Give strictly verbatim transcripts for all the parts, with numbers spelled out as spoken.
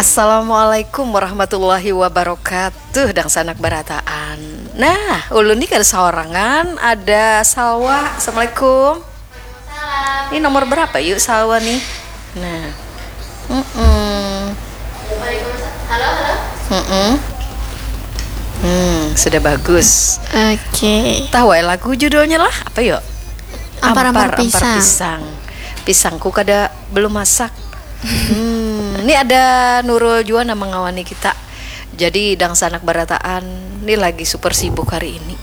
Assalamualaikum warahmatullahi wabarakatuh. Dangsanak barataan. Nah, ulun ni kada saorangan, ada Salwa. Assalamualaikum. Ini nomor berapa yuk Salwa nih? Nah. Mm-mm. Halo, halo. Mm-mm. Hmm, sudah bagus. Oke. Tahu ya lagu judulnya lah, apa yuk? Ampar-ampar Ampar, ampar pisang. Pisang. Pisangku kada belum masak. Hmm, ini ada Nurul juga nama ngawani kita. Jadi dangsanak barataan ini lagi super sibuk hari ini.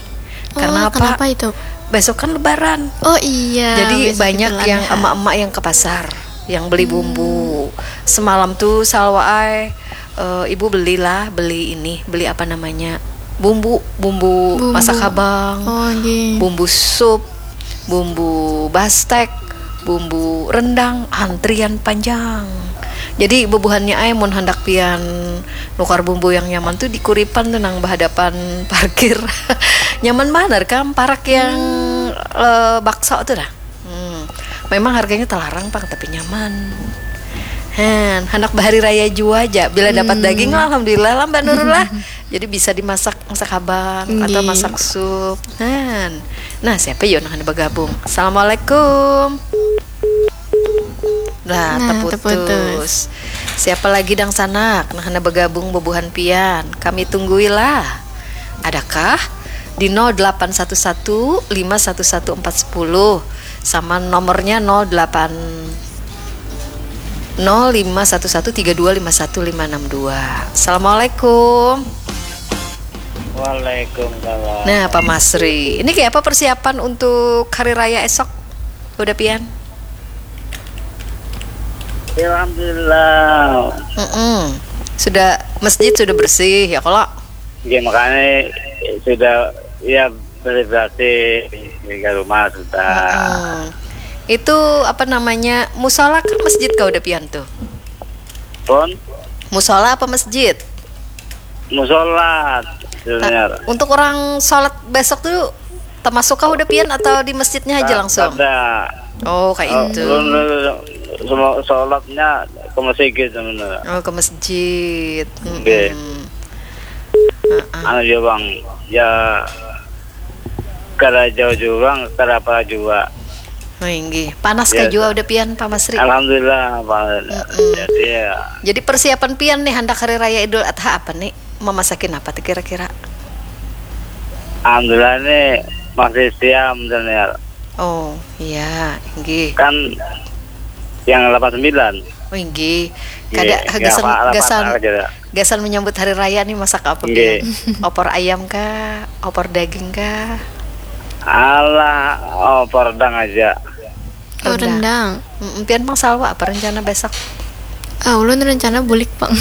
Oh, karena apa? Kenapa itu? Besok kan lebaran. Oh iya. Jadi banyak yang emak-emak yang ke pasar, yang beli bumbu. Hmm. Semalam tuh Salwa ai, eh, ibu belilah, beli ini, beli apa namanya? Bumbu, bumbu, bumbu masak habang. Oh, iya. Bumbu sup, bumbu bastek, bumbu rendang, antrian panjang. Jadi bubuhannya ai mun handak pian nukar bumbu yang nyaman tuh di Kuripan tuh nang bahadapan parkir. Nyaman banar kam parak yang, hmm, eh, bakso tuh dah. Hmm. Memang harganya telarang pang tapi nyaman. Hen, handak bahari raya jua aja. Bila dapat, hmm, daging lah, alhamdulillah lah Mbak Nurul lah. Jadi bisa dimasak masak habang atau, nggih, masak sup. Nah, nah siapa yo nang handak bergabung? Assalamualaikum. Lah, nah, terputus, terputus. Siapa lagi dangsanak nang handak bergabung bubuhan pian? Kami tunggui lah. Adakah di nol delapan satu satu lima satu satu empat sepuluh sama nomornya nol delapan nol lima satu satu tiga dua lima satu lima enam dua. Assalamualaikum. Waalaikumsalam. Nah, Pak Masri, ini kayak apa persiapan untuk hari raya esok? Udah pian? Ya, alhamdulillah. Mm-mm. Sudah, masjid sudah bersih ya kalau? Ya, makanya sudah, ya, bersih-bersih di rumah sudah. Mm-mm. Itu apa namanya, musola kah masjid kah udah pian tuh? Pun? Musola apa masjid? Musola, sebenarnya. Untuk orang sholat besok tuh termasuk kah udah pian atau di masjidnya aja langsung? Kada. Oh, kayak itu. Belum, belum, belum. Semua sholatnya ke masjid sebenarnya. Oh, ke masjid. Oke. Mm-mm. Heeh. Anu ya, Bang. Ya, kada jauh jua, kada apa jua. Oh, inggih. Panas kah jua udah pian, Pak Masri? Alhamdulillah, Pak. Mm-mm. Jadi, ya. Jadi persiapan pian nih handak hari raya Idul Adha apa nih? Memasakin apa tuh kira-kira? Alhamdulillah nih masih siam dan ya. Oh, iya, inggih. Kan yang delapan sembilan. Oh, inggih. Kada, iya, gasan, gasan menyambut hari raya nih masak apa, inggih, pian? Opor ayam kah? Opor daging kah? Alah, opor rendang aja. Oh, rendang. Rendang. Mm, pian pang Salwa apa rencana besok? Ah, ulun rencana bulik pang.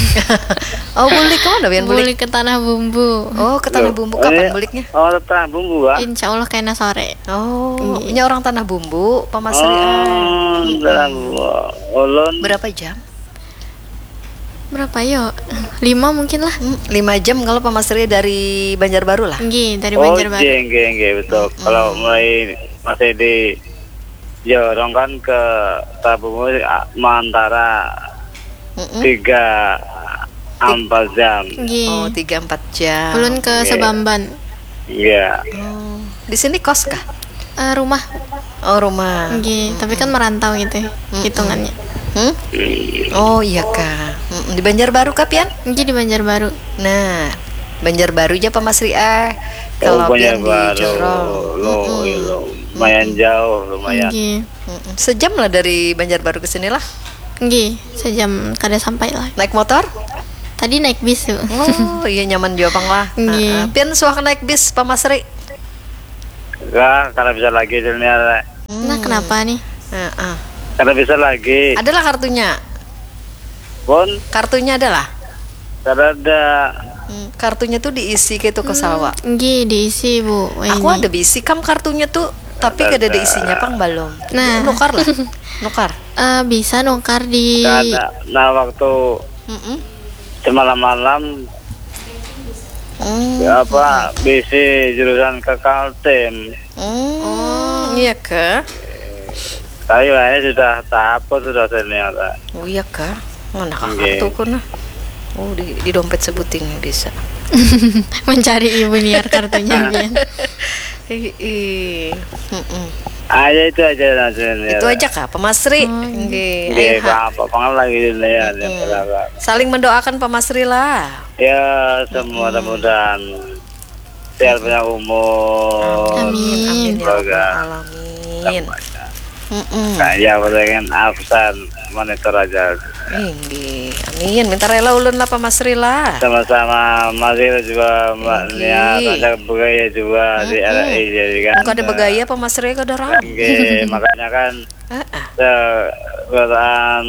Oh, bulik ke mana pian bulik? Bulik ke Tanah Bumbu. Oh, ke Tanah Bumbu. Loh, kapan buliknya? Oh, Tanah Bumbu, ah? Insya Allah kena sore. Oh, inggih. Ini orang Tanah Bumbu, Pak Masri, ah. Oh, Tanah Bumbu. Ulun. Berapa jam? Berapa yo? Lima mungkin lah. Hmm, lima jam kalau Pak Masri dari Banjarbaru lah. Nggih, dari Banjarbaru. Oh, nggih, nggih, nggih, betul. Mm-mm. Kalau mulai masih di jorong kan ke Tabungu, ah, mantara, mm-mm, tiga, empat jam. Nggih. Oh, tiga, empat jam. Ulun ke, nggih, Sabamban. Iya. Oh, di sini kos kah? Eh, rumah. Oh, rumah. Nggih, tapi kan merantau gitu ya, mm-mm, hitungannya. Hmm? Oh, iya kah. Mm-mm. Di Banjarbaru kah pian? Nggih, di Banjarbaru. Nah, Banjarbaru aja Pak Masri ah. Oh, kalau pian di Banjarbaru. Jorong. Lo, mm-mm, lo, lumayan, mm-mm, jauh, lumayan. Nggih. Mm-mm. Sejam lah dari Banjarbaru ke sini lah. Nggih, sejam kada sampai lah. Naik motor? Tadi naik bis tuh. Oh, iya nyaman jua pang lah. Nggih. Heeh. Pian suah naik bis, Pak Masri? Lah, kada bisa lagi dunia. Hmm. Nah, kenapa nih? Heeh. Kada bisa lagi. Adalah kartunya? Pun? Kartunya adalah? Kada ada. Hmm, kartunya tuh diisi gitu ke, hmm, Salwa? Nggih, diisi, Bu. Aku ini ada bisi kam kartunya tuh, tapi kada ada isinya pang balum. Nah. Nukar lah. Nukar. Eh, bisa nukar di. Kada. Nah, waktu, mm-mm, semalam malam, hmm, ya apa, bisi jurusan ke Kaltim. Hmm, oh, iya kah? Tapi wayahnya sudah tahapus sudah ternyata. Oh, iya kah? Mana kakak, nggih, tuh kuna? Oh, di, di dompet sebuting bisa. Mencari ibu niar kartunya pian. Ih, ih. Mm-mm. Ah, ya itu aja lah sebenarnya. Itu aja kah, Pak Masri? Oh, Nggih, Iya, ayo, ha. apa-apa lah gitu ya. Mm-mm. Saling mendoakan, Pak Masri lah. Ya, semua mudah-mudahan sehat banyak umur. Amin. Amin ya Semoga rabbal alamin. Mm-mm. Kaya pengen absen monitor aja. Inggih. Amin. Minta rela ulun lah, Pak Masri lah. Sama-sama Masri juga Mbak Oke. Nia, ada bergaya juga di Mm-mm. R R I jadi kan. Engkau ada bergaya, Pak Masri, kau ada ram. Oke, makanya kan Heeh. sekarang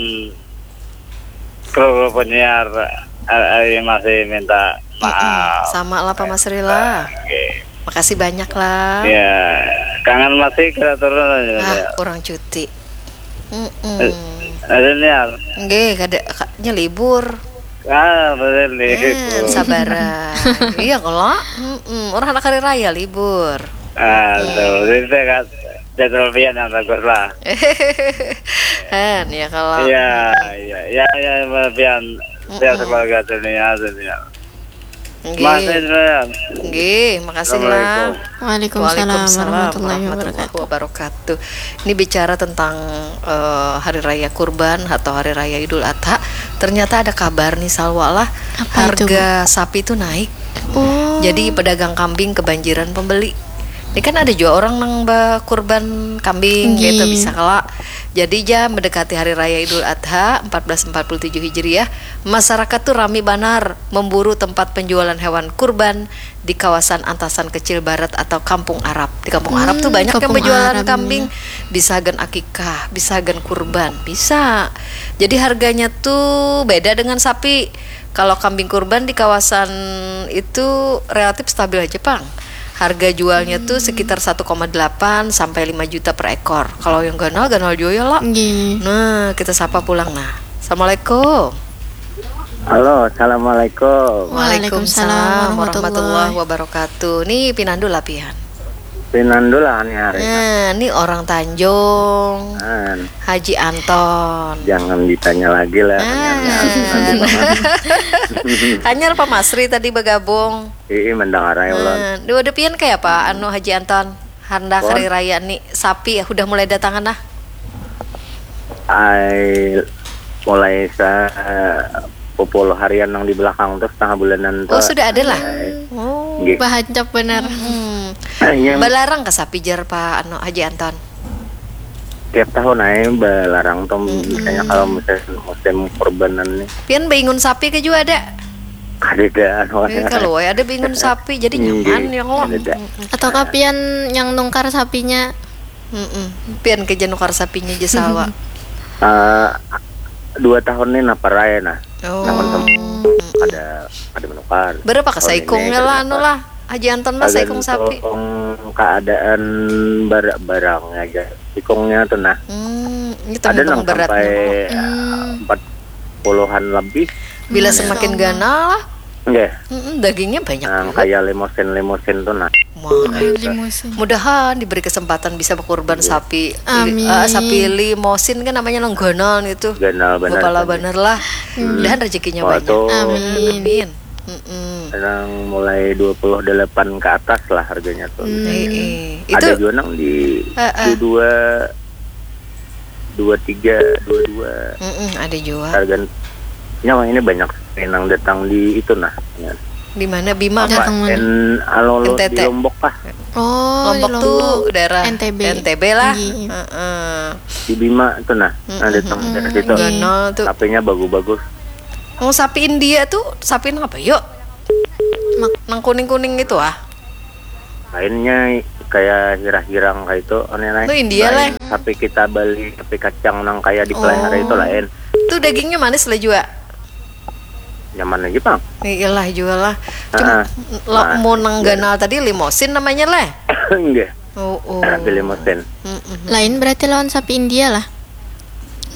kru-kru penyiar R R I masih minta maaf. Sama lah, Pak Masri lah. Oke. Makasih banyak lah. Ya, kangen masih kita turun aja. Ah, Ya. Kurang cuti. Mm-mm. Ada niar. Nggih, kada, ka- nya libur. Ah, betul nih. Hmm, sabaran. Iya kalau, mm-mm. Orang anak hari raya libur. Ah, betul. Jadi saya kan jadwal pian yang bagus lah. Hen, ya kalau. Iya, iya, ya, ya, pian. Saya sekeluarga dunia, dunia. Nggih. Masih pian. Nggih, makasih lah. Waalaikumsalam warahmatullahi Warahmatullahi wabarakatuh. Ini bicara tentang eh, hari raya kurban atau hari raya Idul Adha. Ternyata ada kabar nih, Salwa lah. Apa itu, Harga sapi itu naik. Oh. Jadi pedagang kambing kebanjiran pembeli. Ini kan ada juga orang nang berkurban kambing Nggih. gitu, bisa kala. Jadi ja mendekati hari raya Idul Adha empat belas empat puluh tujuh Hijriah, masyarakat tuh rami banar memburu tempat penjualan hewan kurban di kawasan Antasan Kecil Barat atau Kampung Arab. Di Kampung Arab tuh Hmm, banyak yang Kampung berjualan Arab, kambing, bisa gen akikah, bisa gen kurban, bisa. Jadi harganya tuh beda dengan sapi. Kalau kambing kurban di kawasan itu relatif stabil aja, Pang. Harga jualnya tuh sekitar satu koma delapan sampai lima juta per ekor. Kalau yang ganal, ganal juga ya, Lak. Nggih. Nah, kita sapa pulang nah. Assalamualaikum. Halo, assalamualaikum. Waalaikumsalam warahmatullahi. Warahmatullahi wabarakatuh. Nih pinandu lah pian. Pinandu lah nih hari. Nah, ini orang Tanjung. Kan, Haji Anton. jangan ditanya lagi lah. Ah. Nanti banget. Hanyar Pak Masri tadi bergabung. Ii mendengar aja ulun. Nah, dua depian kayak apa anu Haji Anton? Handak Pon. Hari Raya nih, sapi ya udah mulai datangan lah. Ai mulai sa sepuluh harian yang di belakang tuh, setengah bulanan Oh, tuh. sudah ada lah. Ai, Oh. Nggih. Bahancap benar. Hmm. Ai, yang Balarang ke sapi jar Pak anu Haji Anton. Tiap tahun aja balarang tuh, misalnya kalau musim musim kurbanan nih. Pian baingun sapi ke juga ada. Kadada anu. Eh, kalau wae ada baingun sapi jadi Nggih, nyaman ya kok. kadada. Atau kapian yang nungkar sapinya? Mm-mm. Pian ke nukar sapinya aja Salwa. Eh, dua tahun nih napa raya nah. Oh. Ada ada menukar. Berapa ke Tahun ini saikungnya lah anu berapa? Lah? Haji Anton lah saikung sapi. Tergantung keadaan bar- barangnya aja. Ikungnya tuh nah. Hmm, ini Ada tergantung nang sampai beratnya. eh, empat puluhan lebih. Bila Masya semakin Allah. ganal lah, Nggih. mm-mm, dagingnya banyak Nah, juga. Kayak limosin-limosin tuh nah. Wah, Limusin. Mudahan diberi kesempatan bisa berkurban sapi. Amin. Eh, sapi limosin kan namanya nang ganal itu. Ganal benar. Kepala Tadi. Bener lah. Mudahan rezekinya Wah, banyak. tuh. Amin. Amin. Mm-mm. Sekarang mulai dua puluh delapan ke atas lah harganya tuh. Hmm. Eh, eh. Ada Itu juga nang di Eh, eh. dua dua tiga dua dua. Mm-mm, ada juga. Harga nyawa ini banyak yang datang di itu nah. Ya. Di mana Bima Apa kah? Datang mana? N alolo N T T. Di Lombok kah? Oh, di Lombok tuh Lombok. Daerah N T B. N T B lah. Iya. Heeh. Di Bima tuh nah. Nah, datang dari situ. Ganal tuh. Sapinya bagus-bagus. Oh, sapi India tuh sapi nang apa yuk? Mak- Nang kuning-kuning itu ah. Lainnya kayak hirah-hirang kayak itu aneh lain. Tuh India, Lain Leh. Sapi kita beli sapi kacang nang kayak dipelihara Oh. Itu lain. Tuh dagingnya manis lah juga. Nyaman aja, Bang. Nih iyalah juga lah. Cuma Heeh. lo Nah, mau nang iya. Ganal tadi limosin namanya Leh. Enggak. Oh, oh. Pilih mesin. Mm-mm. Lain berarti lawan sapi India lah.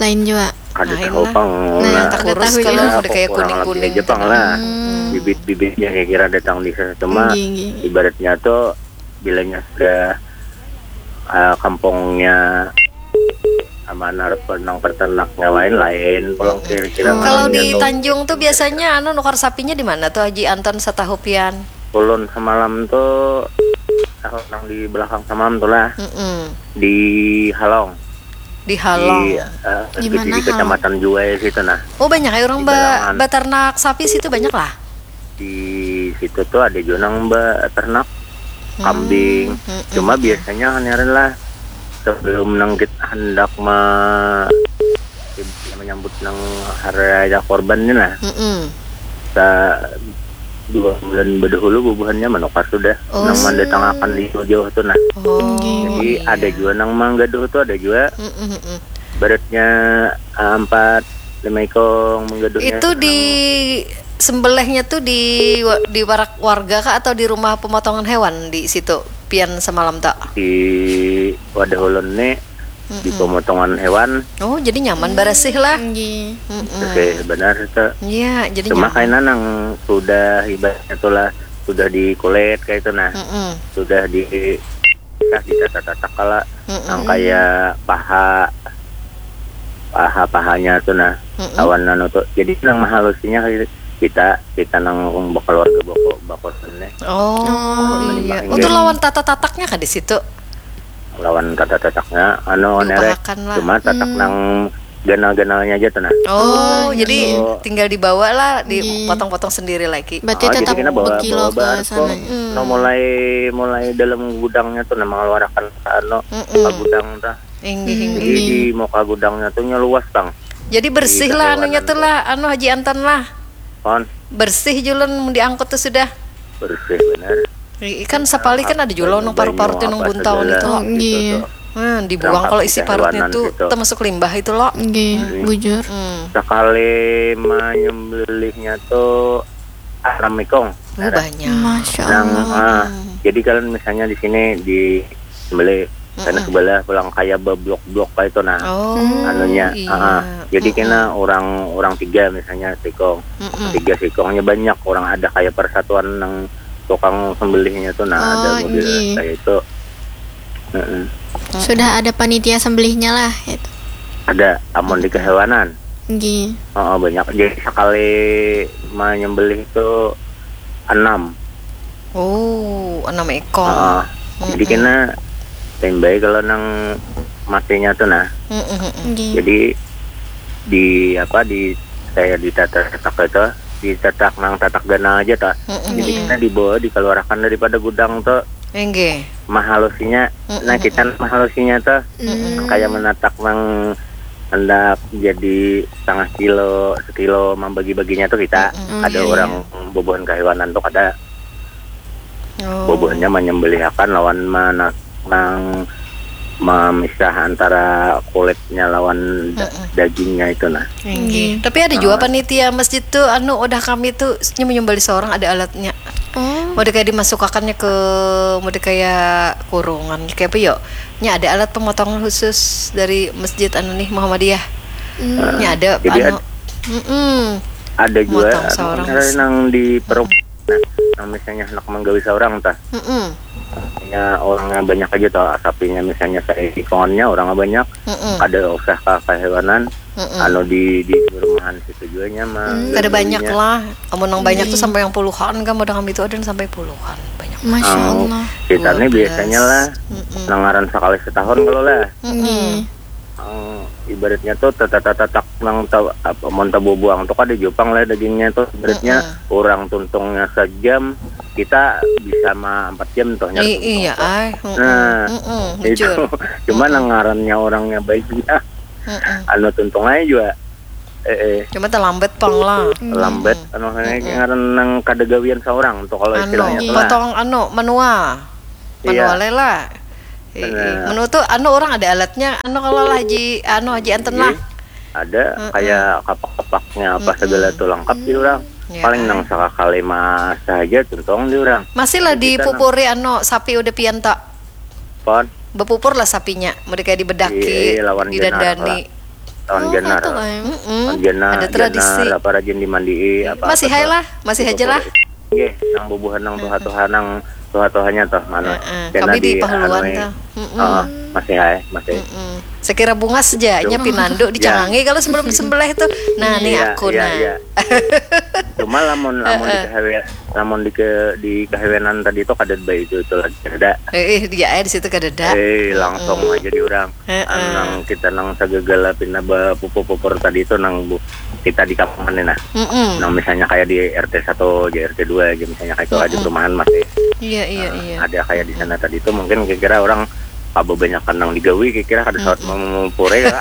Lain juga. Kada Lain tahu lah. Bang. Nah, Nah, tak Kurus tahu kalau ya. udah kayak kurang kuning-kuning lebih aja, Bang, tengah. Lah. Hmm. Bibit-bibitnya kira-kira datang di sana cuma Nggih, nggih. Ibaratnya tuh bilanya sudah eh, kampungnya Aman harus nang peternaknya lain-lain pulang kira-kira. Kalau di Tanjung tuh biasanya anu nukar sapinya di mana tuh Haji Anton satahu pian? Ulun semalam tuh tahu nang di belakang semalam tuh lah. Mm-mm. Di Halong. Di Halong. Di, uh, di, di kecamatan Juwai situ nah. Oh, banyak ya orang ba baternak sapi situ banyak lah. Di situ tuh ada juga nang baternak kambing. Hmm. Cuma biasanya haniran lah sebelum nang kita hendak me menyambut nang hari raya korban ni nah. Mm-mm. Sa dua bulan berdahulu bubuhannya menukar sudah. Oh. Nang mandatangakan di jauh-jauh tu nah. Oh. Jadi ada juga nang manggaduh tu ada juga. Mm-mm. Beratnya empat lima ikong manggaduhnya. Itu di sembelihnya tuh di di warak warga kah atau di rumah pemotongan hewan di situ pian semalam tak? Di wadah ulun nih di pemotongan hewan. Oh, jadi nyaman barasih lah. Nggih. Mm-mm. Oke, benar itu. Iya, jadi cuma nyaman. Kaina nang sudah ibaratnya tuh lah sudah dikulit kayak itu nah. Mm-mm. Sudah di kah ditata-tata kala nang kayak paha paha pahanya tuh nah. Mm-mm. Awan anu tuh jadi nang mahalusinya kita kita nang keluarga boko bakosan nih. Oh, oh iya. Untuk lawan tata-tataknya kah di situ? Lawan tata-tataknya anu nere cuma tatak hmm. Nang ganal-ganalnya aja tuh nah. Oh, oh jadi gitu. Tinggal dibawa lah, dipotong-potong sendiri lagi. Berarti oh, tetap jadi kena bawa, bekilo bawa ke sana. Hmm. No, mulai mulai dalam gudangnya tuh nah mengeluarkan anu mm -mm. Ke gudang tuh. Inggih, hmm. Inggih. Jadi di muka gudangnya tuh luas bang. Jadi bersih lah anunya tuh lah, anu Haji Anton lah. Kon. Bersih julun diangkut tuh sudah. Bersih benar. Ikan sapali kan ada juga nang parut-parut nang buntaun itu. Oh, gitu, iya. Hmm, dibuang kalau isi parutnya tuh gitu. Termasuk limbah itu loh. Nggih, hmm. Bujur. Hmm. Sekali menyembelihnya tuh enam ikong. Oh, banyak. Masya Allah. Nang, ah, jadi kalian misalnya di sini di sembelih karena sebelah pulang kayak beblok-blok kayak itu nah. Oh, anunya, iya. Ah, jadi kena orang orang tiga misalnya sikong. Mm-mm. Tiga sikongnya banyak orang ada kayak persatuan nang tukang sembelihnya tuh nah ada oh, model iya. Kayak itu. Mm-mm. Sudah ada panitia sembelihnya lah itu. Ada amun di kehewanan. Nggih. Oh, banyak. Jadi sekali menyembelih itu enam. Oh, enam ekor. Uh, jadi kena timbai kalau nang matinya tuh nah. Mm-mm. Nggih. Jadi di apa di saya di tatak itu di tatak nang tatak ganal aja tuh. Mm-mm. Jadi kena dibawa dikeluarkan daripada gudang tuh. Enggak. Mahalusinya, mm-mm. Nah kita mahalusinya tuh mm-mm. Kayak menatak nang hendak jadi setengah kilo, sekilo membagi-baginya tuh kita mm-mm. Ada iya, orang iya. Bubuhan kehewanan tuh ada. Oh. Bubuhannya menyembelihakan lawan mana nang memisah antara kulitnya lawan da- mm-mm. Dagingnya itu nah. Inggih. Tapi ada juga panitia masjid tuh anu udah kami tuh nyembeli seorang ada alatnya. Oh. Mau kayak dimasukakannya ke mau kayak kurungan kayak apa yuk? Nya ada alat pemotongan khusus dari masjid anu nih Muhammadiyah. Hmm. Nya ada jadi anu. Ad- mm-mm. Ada juga anu, nang di perumah. Nah, misalnya hendak menggawi seorang tah. Mm-mm. Ya orangnya banyak aja tah, sapinya misalnya saya ikonnya orangnya banyak. Mm-mm. Ada usah ke kehewanan. Mm-mm. Anu di di perumahan situ juga nyaman. Hmm, ada banyak lah. Amun yang banyak tuh sampai yang puluhan kan, ada kami itu ada yang sampai puluhan banyak. Masya Allah. Kita nih biasanya lah mm-mm. Nangaran sekali setahun kalau lah. Mm-mm. Ibaratnya tuh tata-tata nang apa monta bubuang tuh kada jupang lah dagingnya tuh ibaratnya mm-mm. Orang tuntungnya sejam kita bisa mah empat jam tuh nyari iya ay nah mm-mm, itu cuma mm-mm. Nang ngarannya orangnya baiknya mm-mm. Anu tuntung aja juga eh, eh. Cuma terlambat pang lah terlambat mm-mm. Anu mm-mm. Ngaran nang kada gawian seorang tuh kalau anu, istilahnya tuh potong anu manual manual iya. Lah Menu tuh anu orang ada alatnya anu kalau lah haji anu haji anten lah ada hmm. Kayak kapak-kapaknya apa hmm. Segala tuh lengkap di orang ya. Paling nang sakakali mah saja tuntong di orang masih lah dipupuri anu sapi udah pian tak pon bepupur lah sapinya mereka dibedaki iya, iya, lawan didandani lawan oh, jenar lawan jenar ada tradisi jenar, apa rajin dimandii apa masih hai lah masih aja lah Nggih, nang bubuhan nang tuha-tuha nang Tuha-tuhanya tuh mana? Heeh, kami di Pahuluan tuh. Oh, masih hai, masih. Mm-mm. Sekira bungas aja, nya pinandu dicangangi kalau sebelum disembelih tuh. Nah, nih iya, aku iya, nah. Iya. Cuma lamun lamun di kahawe, lamun di ke di kahawenan tadi itu kada baik itu itu lagi ada. Eh, eh, dia eh, di situ kada ada. Eh, langsung mm-mm. Aja di orang. Heeh. Nang kita nang segegala pina bapupur-pupur tadi itu nang bu, kita di kampungan nih nah. Mm-mm. Nang misalnya kayak di R T satu aja, R T dua aja misalnya kayak itu mm-mm. Ada perumahan masih. Iya, iya, nah, iya. Ada kayak di sana tadi itu mungkin kira-kira orang apa banyak nang digawi kira-kira kada sawat mm-mm. Memupure ya.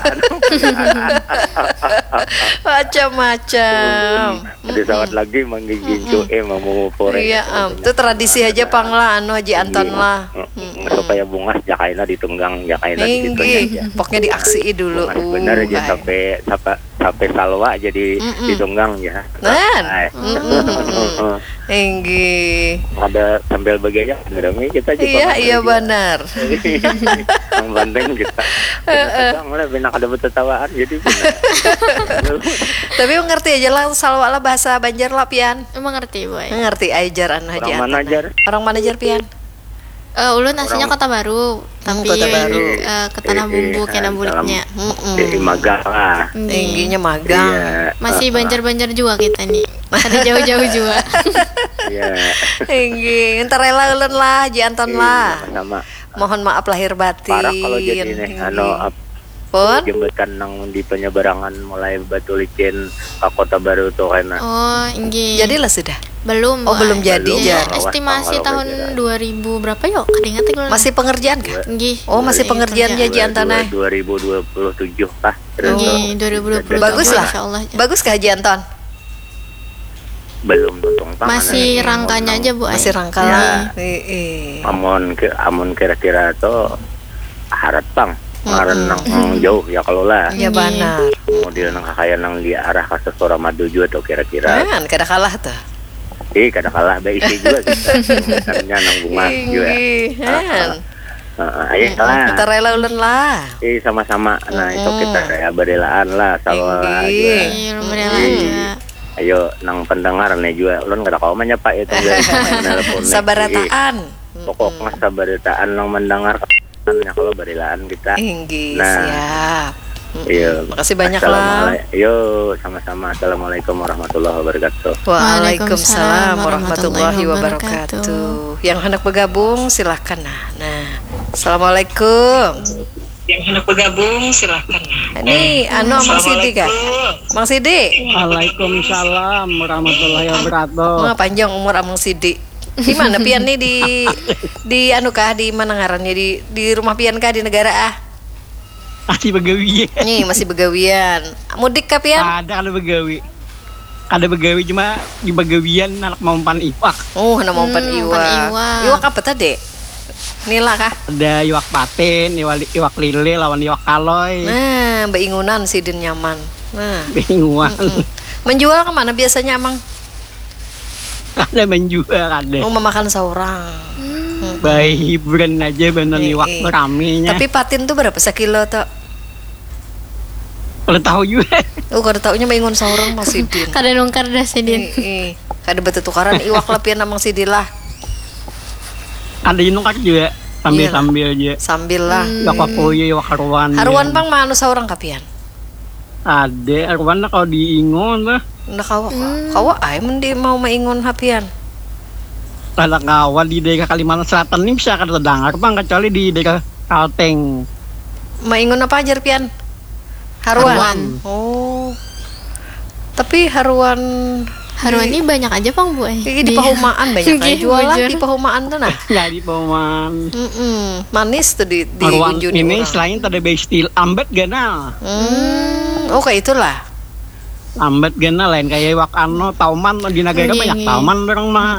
Macam-macam. Ada sawat lagi manggigincu eh mamupure. Iya, am. Itu tradisi aja pang lah anu Haji Anton lah. Supaya bungas jakaina ditunggang jakaina di situ aja. Pokoknya diaksi dulu. Bungas benar aja sampai sampai sampai salwa aja di ditunggang ya. Nah. Inggih. Ada sambil bagaya rame kita juga. Iya, iya benar. Yang penting kita. Heeh. Mulai bina kada bertetawaan jadi. Tapi mengerti aja lah salwa lah bahasa Banjar lah pian. Mengerti boy. Mengerti ajar anu Haji Atan. Orang mana jar pian? Uh, ulun aslinya Kota Baru, tapi Kota Baru. Uh, ke Tanah Bumbu kena buliknya. Jadi magang lah. Tingginya magang. Iya. Masih banjar-banjar juga kita nih. Ada jauh-jauh juga. Iya. Tinggi. Entar rela ulun lah, Ji Anton lah. Sama. Mohon maaf lahir batin. Parah kalau jadi nih, anu, pun jembatan nang di penyeberangan mulai Batulicin ke Kota Baru tuh kena. Oh, inggih. Jadilah sudah. Belum. Oh, belum jadi. Belum, jar. Estimasi tahun dua ribu berapa yo? Kada ingat aku. Masih pengerjaan kah? Inggih. Oh, masih pengerjaan ya Ji Anton eh. Dua ribu dua puluh tujuh kah? Inggih, dua ribu dua puluh tujuh. Bagus lah. Bagus kah Ji Anton? Belum tuntung pang. Masih rangkanya aja bu. Masih rangka lah. Amun amun kira-kira tuh harat pang ngaran nang jauh ya kalau lah. Iya benar. Model nang kakaya nang di arah kasar Suramadu juga tuh kira-kira. Kan kada kalah tuh. Eh kada kalah ada isi juga kita. Misalnya nang bunga juga. Iya. Heeh, ayo lah. Kita rela ulun lah. Eh sama-sama. Nah, itu kita ya berelaan lah sama. Iya, berelaan juga. Ayo nang pendengar nih juga ulun kada kawa menyapa itu. Sabarataan. Pokoknya sabarataan nang mendengar ya kalau berelaan kita. Inggih, nah, siap. Iya. Makasih banyak lah. Yo, sama-sama. Assalamualaikum warahmatullahi wabarakatuh. Waalaikumsalam warahmatullahi wabarakatuh. Yang hendak bergabung silahkan nah. Nah, assalamualaikum. Yang hendak bergabung silahkan nah. Ini anu Mang Sidi kah? Mang Sidi. Waalaikumsalam warahmatullahi wabarakatuh. Wah, panjang umur Amang Sidi. Di mana pian nih di di anu kah di mana ngarannya di di rumah pian kah di negara ah? Masih begawian. Nih, masih begawian. Mudik kah pian? Ada kada begawi. Kada begawi cuma di begawian anak mampan iwak. Oh, anak mampan hmm, iwak. Iwak. Iwak apa tadi? Nila kah? Ada iwak patin, iwak, iwak lele lawan iwak kaloy. Nah, beingunan sidin nyaman. Nah. Beingunan. Mm -mm. Menjual kemana biasanya, Mang? Ada menjual ada. Oh, memakan seorang. Hmm. Baik hiburan aja bener nih waktu ramenya. Tapi patin tuh berapa sekilo tuh? Kalau tahu juga. Oh, kalau tahunya maingun seorang masih din. Kada nungkar dah sidin. Eh, eh. Kada bertukaran iwak lah pian namang sidin lah. Ada nungkar juga sambil sambil aja. Sambil lah. Hmm. Iwak papuyu, iwak haruan. Haruan ya. Bang mana seorang kapian? Ada, aku mana kalau diingon lah. Nah, kawa, hmm. Kawa ay, mun di mau maingon hapian. Kalau kawa di daerah Kalimantan Selatan ini bisa kada terdengar, bang, kecuali di daerah Kalteng. Maingon apa ajar pian? Haruan. Haruan. Oh. Tapi haruan Haruan ini banyak aja pang bu eh. Di, di pahumaan banyak aja jualan di pahumaan tuh nah. Ya di pahumaan. Mm -mm. Manis tuh di di haruan ini orang. Selain tadi bestil ambet ganal. Hmm. Oh kayak itulah. Lambat gana lain kaya iwak ano tauman di nagara banyak tauman orang mah.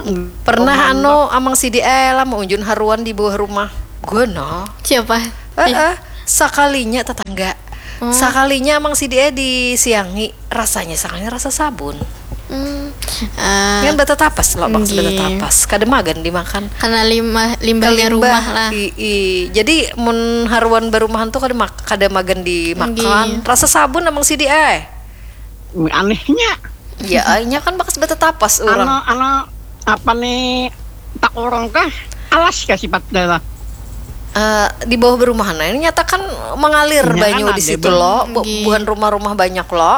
Pernah ano amang sidi eh lah maunjun haruan di bawah rumah. Gana. Siapa? Eh, eh. Sakalinya tetangga. Oh. Sakalinya amang sidi eh disiangi rasanya sakalinya rasa sabun. Hmm. Uh, kan bata tapas lo maksud bata tapas. Kada magan dimakan. Karena lima limbahnya rumah lah. I, i. Jadi mun haruan barumahan tuh kada mak kada magan dimakan. Rasa sabun amang sidi eh. Anehnya. Ya, nya kan bakas betetapas orang. Ano, ano, apa nih tak orang kah? alas kah sifatnya lah. Eh, di bawah berumahan ini nyata kan mengalir Nya kan banyu di ada situ banyu. Lo, bu- Nggih. bukan rumah-rumah banyak Lo.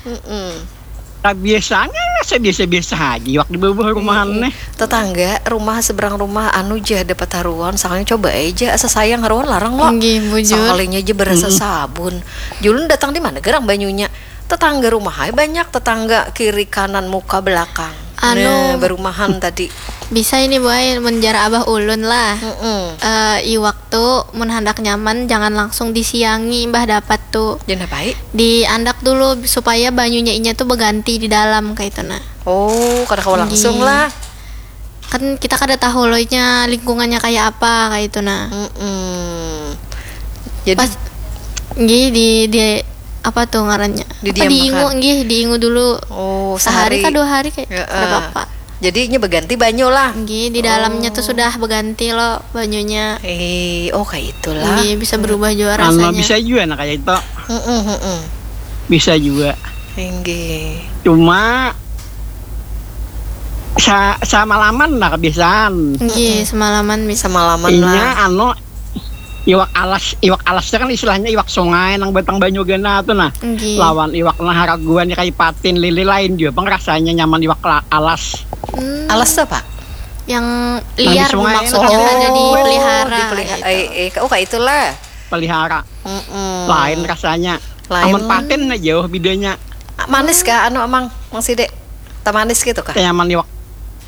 Mm-mm. Nah, biasanya rasa biasa-biasa aja waktu di bawah rumahan nih. Tetangga rumah seberang rumah anu ja dapat haruan, soalnya coba aja asa sayang haruan larang Lo. Nggih, bujur. Sekalinya aja berasa sabun. Julun datang di mana gerang banyunya? Tetangga rumah aja banyak, tetangga kiri kanan muka belakang. Anu. Nah, berumahan tadi. Bisa ini, Bu ai, mun jar abah ulun lah. Mm-mm. Eh, iwak tu mun handak nyaman jangan langsung disiangi, imbah dapat tu. Jangan apa ai? Diandak dulu supaya banyunya inya tu beganti di dalam kayak itu nah. Oh, kada kawa langsung Nggih. Lah. Kan kita kada tahu lo nya lingkungannya kayak apa kayak itu nah. Mm-mm. Jadi Pas nggih di di apa tuh ngarannya? Apa, Didiamkan. Diingu nggih, diingu dulu. Oh, Sehari sehari. Kah dua hari kayak Heeh. Kada apa-apa. Jadi ini berganti banyu lah. Nggih, di dalamnya tuh sudah berganti lo banyunya. Eh, oh kayak itulah. Nggih, bisa berubah juga Anu rasanya. Bisa juga nah kayak itu. Mm-mm, mm-mm. Bisa juga. Inggih. Cuma sa samalaman lah kebiasaan. Nggih, semalaman bisa. Semalaman Inya lah. Anu iwak alas, iwak alasnya kan istilahnya iwak sungai nang batang banyu gana tuh nah. Nggih. Lawan iwak nah haraguan kayak patin lili lain juga pang rasanya nyaman iwak la- alas. Hmm, Alas tuh apa? Yang liar sungai. Maksudnya Oh, ada Oh, dipelihara. dipelihara. Gitu. Eh, eh, oh kayak itulah. Pelihara. Mm-mm. Lain rasanya. Lain. Amun patin aja jauh bedanya. Manis kah anu amang, Mang Side? Teh manis gitu kah? Tanyaman iwak,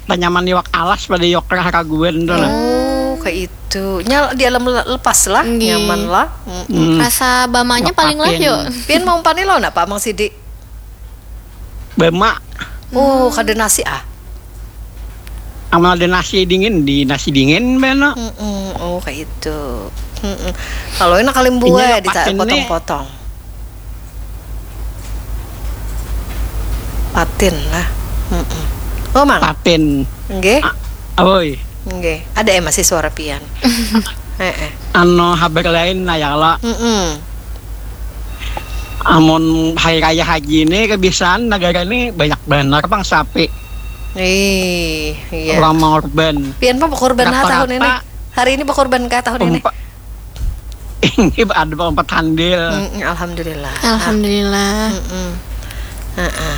tanyaman iwak alas pada iwak haraguan tuh nah. Oh, kayak itu. Nya di alam le- lepas lah, Nggih. Nyaman lah. Mm. Hmm. Rasa bamanya paling lah Patin. Yuk. Pian mau pani lo napa Mang Sidi? Bama. Oh, kada nasi ah. Amun ada nasi dingin di nasi dingin beno. Mm-mm. Oh, kayak itu. Mm-mm. Kalau enak kalimbua Inya di patin nih. Potong-potong. Patin lah. Mm-mm. Oh, Mang. Patin. Nggih. Ah, Oi, Nggih. Ada eh masih suara pian. Heeh. Ano habar lain nah ya lah. Mm-mm. Amun hari raya haji ini kebiasaan negara ini banyak benar pang sapi. Ih, iya. Orang mengorban. Pian pang berkorban lah tahun ini. Rata-rata Hari ini berkorban kah tahun ini? Empat, ini ada empat handil. Mm-mm, alhamdulillah. Alhamdulillah. Mm-mm. Heeh.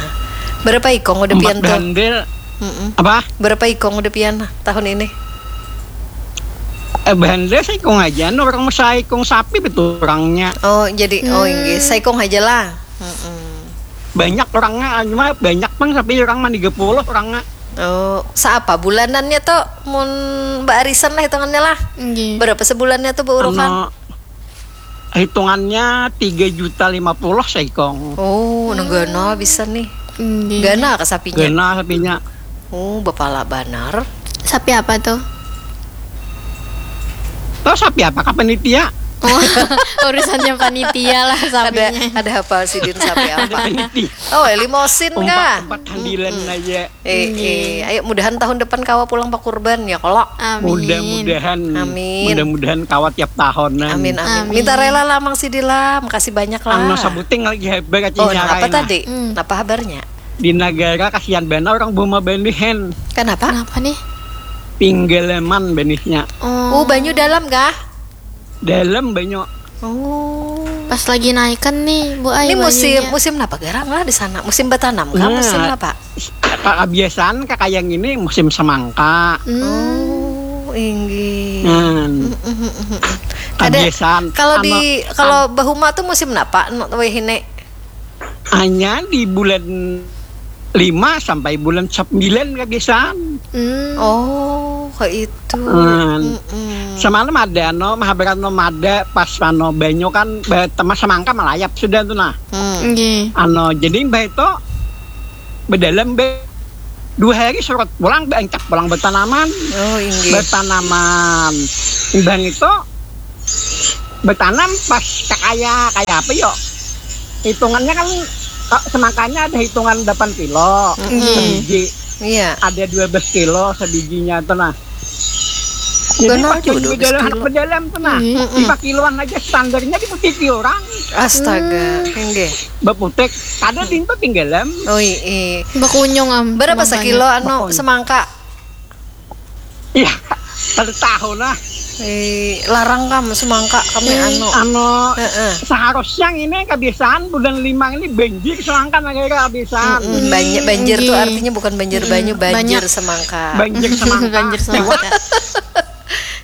Berapa ikong udah pian Empat tuh? Handil. Mm-mm. Apa? Berapa ikong udah pian tahun ini? Eh, handil seikung aja, no, orang saikung sapi betul orangnya. Oh, jadi oh inggih, saikung aja lah. Mm-mm. Banyak orangnya, cuma banyak pang sapi orang mah tiga puluh orangnya. Oh, seapa bulanannya tuh mun Mbak Arisan lah hitungannya lah. Nggih. Berapa sebulannya tuh Bu Urukan? Ano, hitungannya tiga juta lima puluh seikung. Oh, nang gana bisa nih. Nggih. Gana ke sapinya. Gana sapinya. Oh, bapala banar. Sapi apa tuh? Tahu sapi apa kah panitia? Oh, urusannya panitia lah Ada sapinya. Ada hafal sidin sapi apa? Panitia. Oh, limosin Empat, kah? Empat handilan aja. Eh, eh, ayo mudahan tahun depan kawa pulang pakurban ya kalau. Amin. Mudah-mudahan. Amin. Mudah-mudahan kawat tiap tahun. Amin, amin. Amin. Minta rela lah Mang Sidi lah, makasih banyak lah. Ano sabuting lagi hebat Oh, kacanya nah, apa lain, tadi? Hmm. Apa habarnya? Di negara kasihan benar orang buma banihen. Kenapa? Kenapa nih? Pinggalaman benihnya. Oh, Oh, banyu dalam kah? Dalam banyu. Oh. Pas lagi naikan nih, Bu Ai. Ini musim banyunya. Musim apa garang lah di sana? Musim bertanam kah? Nah. Musim apa? Kebiasaan kakayang ini musim semangka. Hmm. Oh, inggih. Hmm. Ada Kebiasaan. kalau Ano- di kalau bahuma tuh musim apa? No, weh ini. Hanya di bulan lima sampai bulan sembilan kebiasaan. Hmm. Oh, kayak itu. Hmm. Mm-mm. Semalam ada no mahabaran no mada pas ano banyu kan ba- temas semangka melayap sudah tuh nah. Hmm. Nggih. Ano jadi mbah itu bedalam be dua hari surut pulang beancap pulang bertanaman. Oh, inggih. Bertanaman. Mbah itu bertanam pas kakaya kaya apa yo? Hitungannya kan eh, semangkanya ada hitungan delapan kilo Nggih. sebiji, Iya. Ada dua belas kilo sebijinya tuh nah. Jadi Benar pas juga, di dua belas dalam kilo. Di dalam tuh nah, Iya. lima kiloan aja standarnya di bukit orang. Astaga, inggih. Beputik, kada pintu tinggalan. Oh, iya. Bakunyung am. Berapa Makanya. Sekilo anu Bakunyung. Semangka? Iya, Kada tahu nah. Eh, larang kam semangka kami Hmm, anu. Anu Heeh. Seharusnya ini kebiasaan bulan lima ini banjir, sedangkan akhirnya kebiasaan. Mm-mm, banjir, banjir tuh Inggih. artinya bukan banjir banyu, Mm-mm, banjir banyak. Semangka. Banjir semangka. Banjir semangka.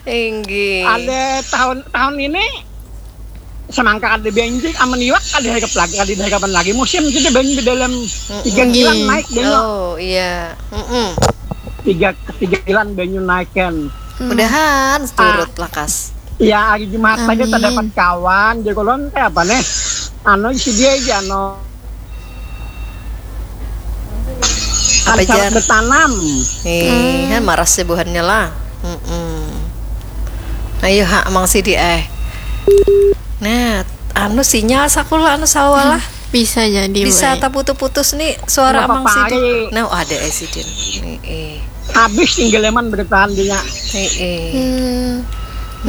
Inggih. Ada tahun tahun ini semangka ada banjir, amun iwak ada harap lagi, ada harapan lagi musim, jadi banyu di dalam tiga Inggih. Bulan naik banyu. Oh iya. Mm-mm. Tiga tiga bulan banyu naik kan. Mudahan seturut lakas. Ya, hari Jumat tadi Amin. Terdapat kawan di kolon kayak apa nih? Anu si dia aja no. Apa Ada syarat jar? Bertanam. Nih, kan maras sih buhannya lah. Mm-mm. Ayo ha, Mang Sidi eh. Nah, anu sinyal sakulah anu sawalah. Bisa jadi. Bisa Wei. Taputus-putus nih suara Kenapa Mang Sidi. pari? Nah, ada eh Sidin. Nih, eh. Habis tinggal leman bertahan dia. Nih, eh. Hmm,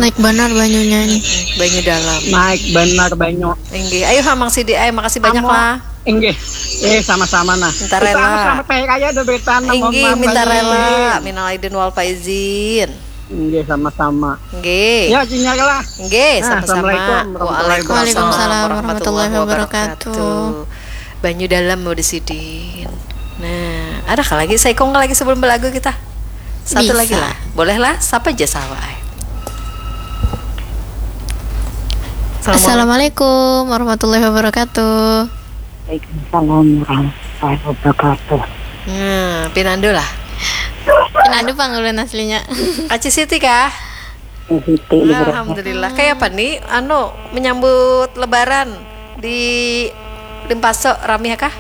naik benar banyunya ini. Banyu dalam. Naik benar banyu. Inggih. Ayo ha, Mang Sidi eh, makasih banyak Amo. Lah. Inggih. Eh sama-sama nah. Minta Kita rela. Selamat hari raya ada bertahan. Inggih, minta rela. Minal aidin wal faizin. Inggih sama-sama. Inggih. Ya, sinyal lah. Nggih, sama-sama. Assalamualaikum warahmatullahi wabarakatuh. Waalaikumsalam warahmatullahi wabarakatuh. Banyu dalam mau disidin. Nah, ada kah lagi? Saikung kah lagi sebelum belagu kita? Satu Bisa. Lagi lah. Boleh lah, siapa aja sawa ai. Assalamualaikum warahmatullahi wabarakatuh. Waalaikumsalam warahmatullahi wabarakatuh. Nah, pinandu lah. Pinandu pang ulun aslinya. Aci Siti kah? Siti di Brebes. Alhamdulillah. Kayak apa nih? Anu menyambut Lebaran di Limpaso rami ya kah?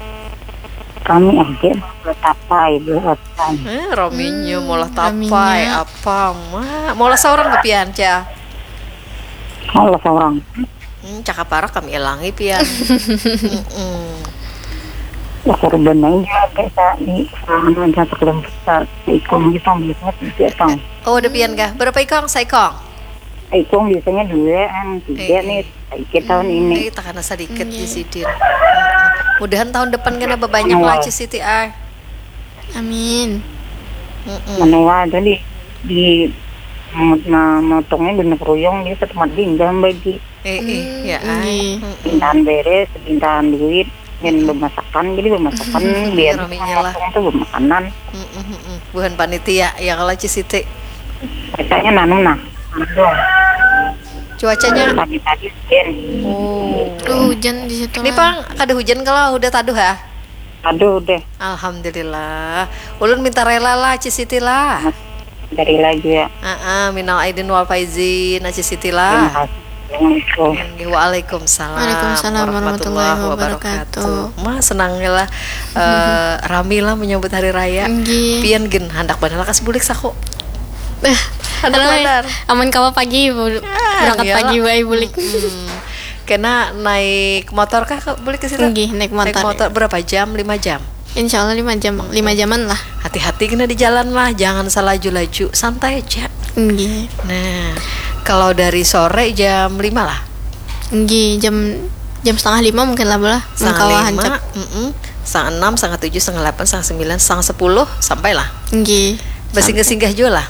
Kami aja bertapai buatan. Eh, raminya Hmm, malah raminya. Tapai apa ma? Malah seorang kepian cah. Kalau seorang Hmm, cakap parak kami ilangi pian. Mm-mm. ya korban aja kayak sa di serangan aja sekelompok sa ikung gitu biasanya tiga tong. Oh, ada pian kah? Berapa ikong? Saikong. Ikung biasanya dua kan tiga Eh. Nih sedikit tahun ini. Eh, takana sedikit di sidin. Mm-mm. Mudahan tahun depan kena bebanyak Amin. Lah Ci Siti ai. Amin. Mm-mm. Menua tadi di memotongnya guna keruyung dia ke tempat dinggal bagi Eh, eh, ya ai. Nggih. Mm-mm. pintahan beres pintahan duit dan bemasakan jadi bemasakan biar Raminya lah. Tuh bemakanan. Mm-mm, mm-mm. Buhan panitia ya kalau Ci Siti. Biasanya nanam nah. Cuacanya Pagi-pagi hujan. Oh. Aduh, hujan di situ. Ini pang kada hujan kalau udah taduh ya. Aduh deh. Alhamdulillah. Ulun minta rela lah Ci Siti lah. Dari lagi ya. Heeh, minal aidin wal faizin Ci Siti Terima lah. kasih. Assalamualaikum. Nggih, Waalaikumsalam Waalaikumsalam warahmatullahi wabarakatuh. Mah senangnya lah eh, rami lah menyambut hari raya. Nggih. Pian gin handak banar lakas bulik saku. Eh, Ada aduh, benar. Aman kawa pagi bu- berangkat iyalah. Pagi wae bulik. Hmm. Kena naik motor kah ke bulik ke situ? Nggih, naik motor. Berapa jam? Lima jam. Insya Allah lima jam, lima jaman lah. Hati-hati kena di jalan lah, jangan salaju-laju, santai aja. Nggih. Nah, kalau dari sore jam lima lah. Nggih, jam jam setengah lima mungkin lah bola. Setengah Mengkawa lima, hancap. Mm-mm. Setengah enam, setengah tujuh, setengah delapan, setengah sembilan, setengah sepuluh sampai lah. Nggih. Bersinggah-singgah juga lah.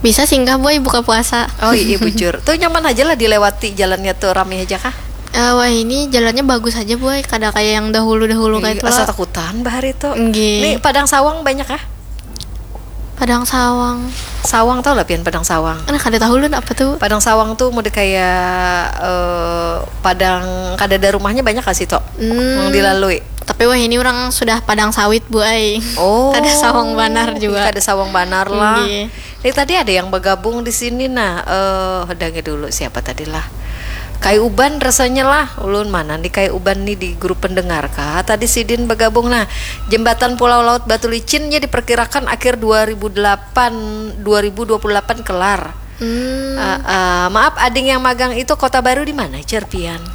Bisa singgah boy buka puasa. Oh iya bujur. Tuh nyaman aja lah dilewati jalannya tuh rame aja kah? Eh, wah ini jalannya bagus aja boy, kada kayak yang dahulu-dahulu kayak itu. Asa takutan bahari tuh. Nggih. Ini Padang Sawang banyak kah? Padang Sawang. Sawang tau lah pian Padang Sawang. Nah, kada tahu lun apa tuh. Padang Sawang tuh mode kayak eh, padang kada ada rumahnya banyak kah situ? Hmm. Yang dilalui. Tapi wah ini orang sudah padang sawit bu ai. Oh. Kada sawang banar juga. Kada sawang banar lah. Nggih. Ini tadi ada yang bergabung di sini nah. Eh, hadangi dulu siapa tadi lah. Kai Uban rasanya lah. Ulun mana nih Kai Uban nih di grup pendengar kah? Tadi sidin bergabung nah. Jembatan Pulau Laut Batu Licinnya diperkirakan akhir dua ribu delapan, dua ribu dua puluh delapan kelar. Hmm. Eh, eh, maaf, ading yang magang itu Kota Baru di mana, Cerpian?